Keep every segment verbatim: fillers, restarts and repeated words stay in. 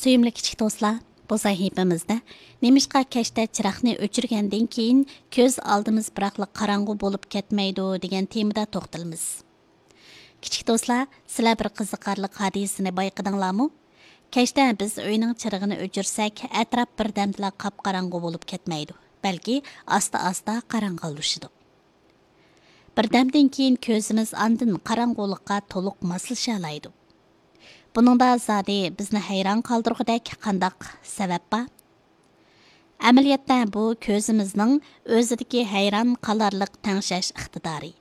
سۆيۈملۈك كىچىك دوستلار، بۇ سەھىپىمىزدە نېمىشقا كەچتە چىراغنى ئۆچۈرگەندىن كېيىن كۆز ئالدىمىز بىراقلا قاراڭغۇ بولۇپ كەتمەيدۇ دېگەن تېمىدا توختىلىمىز. كىچىك دوستلار، سىلەر بىر قىزىقارلىق ھادىسىنى بايقىدىڭلارمۇ؟ كەچتە بىز ئۆينىڭ چىرىغىنى ئۆچۈرسەك، ئەتراپ بىردەمدىلا قاپقاراڭغۇ بولۇپ كەتمەيدۇ، بەلكى ئاستا-ئاستا قاراڭغۇلىشىدۇ. بىردەمدىن كېيىن كۆزىمىز ئاندىن قاراڭغۇلۇققا تولۇق ماسلىشالايدۇ. بۇنىڭدا زادى بىزنى ھەيران قالدۇرغۇدەك قانداق سەۋەب بار؟ ئەمەلىيەتتە بۇ كۆزىمىزنىڭ ئۆزىدىكى ھەيران قالارلىق تەڭشەش ئىقتىدارى،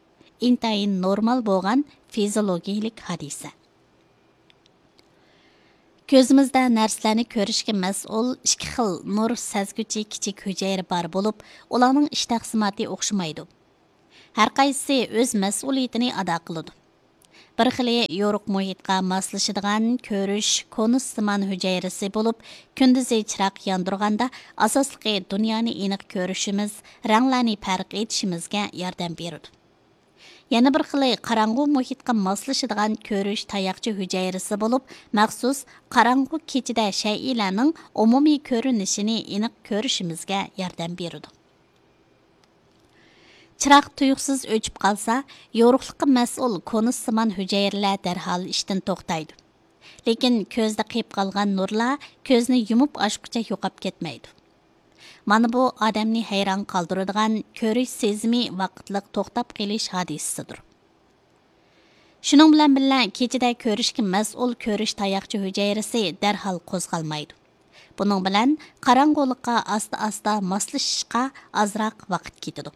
ئىنتايىن نورمال بولغان فىزىولوگىيىلىك ھادىسە. كۆزىمىزدە نەرسىلەرنى كۆرۈشكە مەسئۇل ئىككى خىل نۇر سەزگۈچى كىچىك ھۈجەيرە بار بولۇپ، ئۇلارنىڭ ئىش تەقسىماتى ئوخشىمايدۇ. ھەرقايسىسى ئۆز مەسئۇلىيىتىنى ئادا قىلىدۇ. بىر خىلى يورۇق مۇھىتقا ماسلىشىدىغان كۆرۈش كونۇسسىمان ھۈجەيرىسى بولۇپ، كۈندۈزى چىراغ ياندۇرغاندا، ئاساسلىقى دۇنيانى ئېنىق كۆرۈشىمىز، رەڭلەرنى پەرق ئېتىشىمىزگە ياردەم بېرىدۇ. يەنە بىر خىلى قاراڭغۇ مۇھىتقا ماسلىشىدىغان كۆرۈش تاياقچە ھۈجەيرىسى بولۇپ، مەخسۇس قاراڭغۇ كېچىدە شەيئىلەرنىڭ ئومۇمىي كۆرۈنۈشىنى ئېنىق كۆرۈشىمىزگە ياردەم بېرىدۇ. چىراغ تۇيۇقسىز ئۆچۈپ قالسا، يورۇقلۇققا مەسئۇل كونۇسسىمان ھۈجەيرىلەر دەرھال ئىشتىن توختايدۇ. لېكىن كۆزدە قېلىپ قالغان نۇرلار كۆزنى يۇمۇپ ئاچقۇچە يوقاپ كەتمەيدۇ. مانا بۇ ئادەمنى ھەيران قالدۇرىدىغان كۆرۈش سېزىمى ۋاقىتلىق توختاپ قېلىش ھادىسىسىدۇر. شۇنىڭ بىلەن بىللە، كېچىدە كۆرۈشكە مەسئۇل كۆرۈش تاياقچە ھۈجەيرىسى دەرھال قوزغالمايدۇ. بۇنىڭ بىلەن قاراڭغۇلۇققا ئاستا-ئاستا ماسلىشىشقا ئازراق ۋاقىت كېتىدۇ.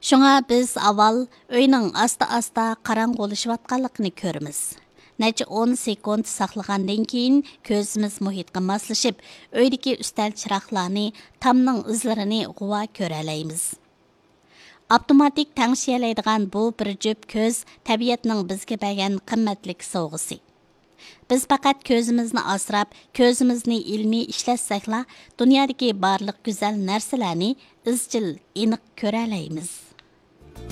شۇڭا بىز ئاۋۋال ئۆينىڭ ئاستا-ئاستا قاراڭغۇلىشىۋاتقانلىقىنى كۆرىمىز. نەچچە ئون سېكۇنت ساقلىغاندىن كېيىن، كۆزىمىز مۇھىتقا ماسلىشىپ، ئۆيدىكى ئۈستەل چىراغلارنى، تامنىڭ ئىزلىرىنى غۇۋا كۆرەلەيمىز. ئاپتوماتىك تەڭشىيەلەيدىغان بۇ بىر جۈپ كۆز تەبىئەتنىڭ بىزگە بەرگەن قىممەتلىك سوۋغىسى. بىز پەقەت كۆزىمىزنى ئاسراپ، كۆزىمىزنى ئىلمىي ئىشلەتسەكلا، دۇنيادىكى بارلىق گۈزەل نەرسىلەرنى ئىزچىل، ئېنىق كۆرەلەيمىز.